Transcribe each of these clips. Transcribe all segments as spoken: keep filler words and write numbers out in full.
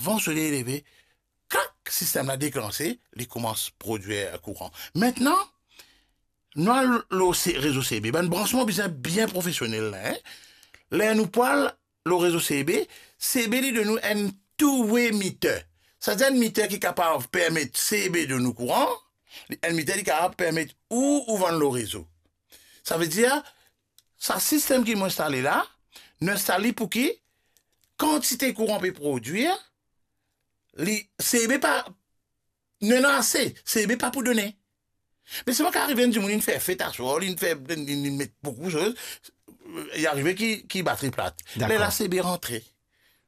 Avan soley leve, krak, sistem la deklanse, li koumans prodwir kouran. Aster, nou al lor se-, rezo C B. Bann bransman bizin bien profesionel la, en. Ler nou pou al lor rezo C B, C B li donn nou enn two-way meter. Savedir enn meter ki kapav permet C B donn nou kouran, enn meter li kapav permet ou, ou vann lor rezo. Savedir, sa sistem ki mo instale la, nou instal li pou ki kantite kouran pe prodwir, li, C B pa, nou ena ase, C B pa pou done. Me selman kan arive enn dimoun, linn fer fet aswar, linn fer, linn, linn met boukou soz, li arive ki, ki batri plat. Dakor. Lerla C B rantre.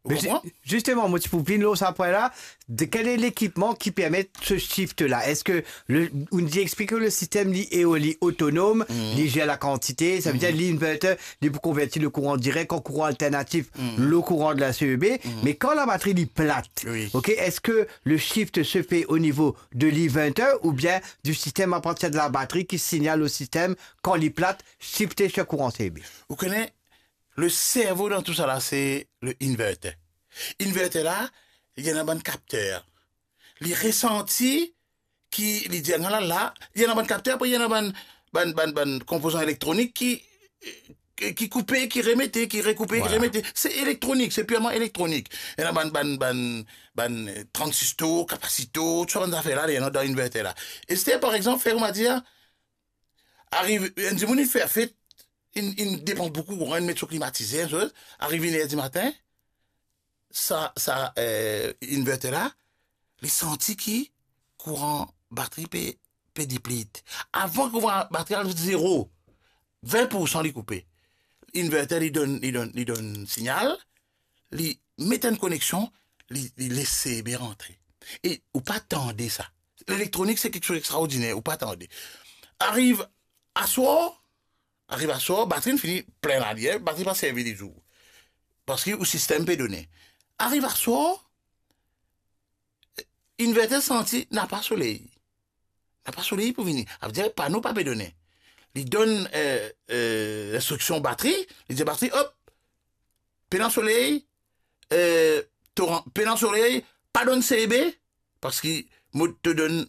Ou konpran? Me zisteman, mo ti pou vinn lor sa pwin la, de, kel lekipman ki permet se shift la? Eski le, ou dir, explike le sistem li e, li otonom, li zer lakantite, savedir li inverter, li pou konverti le kouran direk an kouran alternatif, le kouran de la C E B, me kan labatri li plat, wi, ok, eski le shift se fer o nivo de l'inverter oubien du système à partir de la batterie ki signal o sistem kan li plat, shifte sir kouran C E B? Ou kone, le servo dan tou sa la, se le inverter. Inverter la, li ena bann kapter. Li resanti ki, li dir, "Ala la," li ena bann kapter, apre li ena bann, bann, bann, bann konpozan elektronik ki, ki, ki koupe, ki remete, ki rekoupe, ki remete. Vwala. Se elektronik, se pirman elektronik. Li ena bann, bann, bann, bann, eh, transistor, kapasitor, tou sa bann zafer la, li ena dan inverter la. Aster, par exanp, fer koumadir, arive, enn dimoun, li fer fet, li, li depans boukou kouran, li met so klimatizer, enn soz, arive inn er dimatin, sa, sa, eh, inverter la, li santi ki kouran batri pe, pe deplit. Avan ki kouran batri al zero, vin poursan li koupe. Inverter li donn, li donn, li donn signal, li met enn koneksion, li, li les C B rantre. E ou pa tande sa. Lelektronik, se kiksoz extraordiner, ou pa tande. Ariv aswar, ariv aswar, batri inn fini plin lalir, batri pa servi lizour. Parski ou sistem pe done. Ariv aswar, inverter santi napa soley. Napa soley pou vini. Savedir pano pa pe done. Li donn, eh, eh, instriksion batri, li dir batri, "Op, pena soley, eh, to ran-, pena soley, pa donn C B, parski mo to donn,"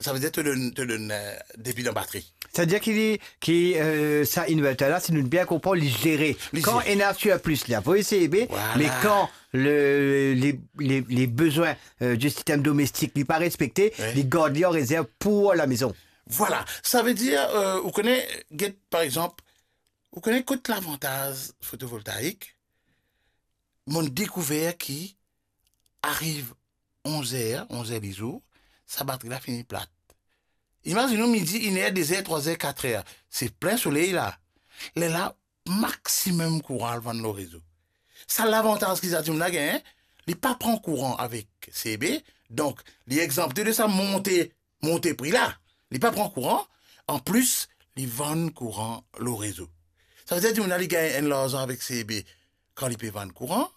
savedir to donn, to donn, eh, depi dan batri. Savedir ki li, ki, eh, sa inverter la, si nou bien konpran, li zere. Li zere. Kan ena sirplis, li avoy C B, vwala, me kan le, les, les, les besoins, euh, du système domestique li pa respekte, wi, li gard li an rezerv pou lamezon. Vwala, savedir, euh, ou kone, get, par exanp, ou kone kot lavantaz fotovoltaik, mo dekouver ki ariv onz er, onz er lizour, sa batri la fini plat. Imazinn ou midi, inn er, de zer, trwa zer, kat er, se plin soley la. Lerla, maximum kouran al vann lor rezo. Sa lavantaz ki sa dimoun la gagn, li pa pran kouran avek C B, donk li exanpte de sa monte, monte pri la. Li pa pran kouran, anplis, li vann kouran lor rezo. Savedir dimoun la, li gagn enn larzan avek C B kan li pe vann kouran,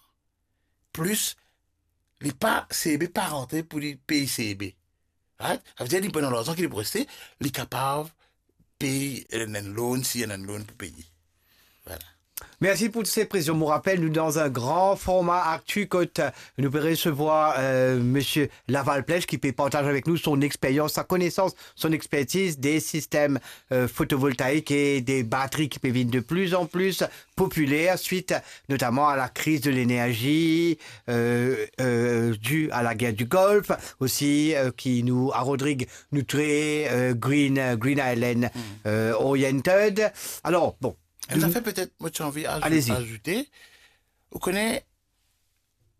plis li pa, C B pa rantre pou li pey C B. Right? Savedir li pran larzan ki li pou reste, li kapav pey enn, enn loan, si ena enn loan pou peye. Vwala. Merci pour toutes ces précisions. Mo rapel, nou dan enn gran forma aktu kot, euh, nou pe resevwar, euh, Monsieur Laval Plech ki pe partaz avek nou son expérience, sa konesans, son expertise des systèmes, euh, photovoltaïques et des batteries qui peuvent venir de plus en plus populaires suite notamment à la crise de l'énergie, euh, euh, due à la guerre du Golfe, aussi, euh, ki nou, a Rodrig, nou tre, euh, green, euh, Green Island, euh, oriented. Alors, bon. Enn zafer petet mo ti anvi azou-, allez-y, azoute. Ou kone,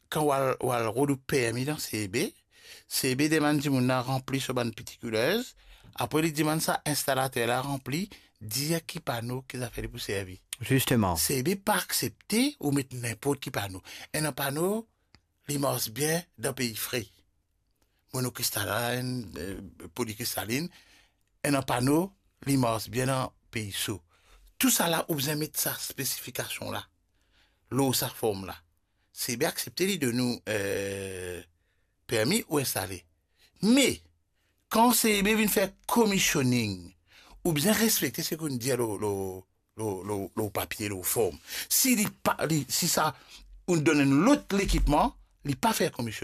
kan ou al, ou al rod ou permi dan C B, C B demann dimoun la ranpli so bann particulars, apre li demann sa instalater la ranpli, dir ki pano, ki zafer li pou servi. Zisteman. C B pa aksepte ou met ninport ki pano. Enn pano, li mars bien dan pei fre. Monokristalin, eh, polikristalin, enn pano, li mars bien dan pei so. Tousala, ou bizin met sa spesifikasion la, lor sa form la. C B aksepte li donn ou, eh, permi ou instale. Me, kan C B vinn fer commissioning, ou bizin respekte seki ou'nn dir lor, lor, lor, lor, lor papie, lor form. Si li pa, li, si sa, ou'nn donn enn lot lekipman, li pa fer commissioning.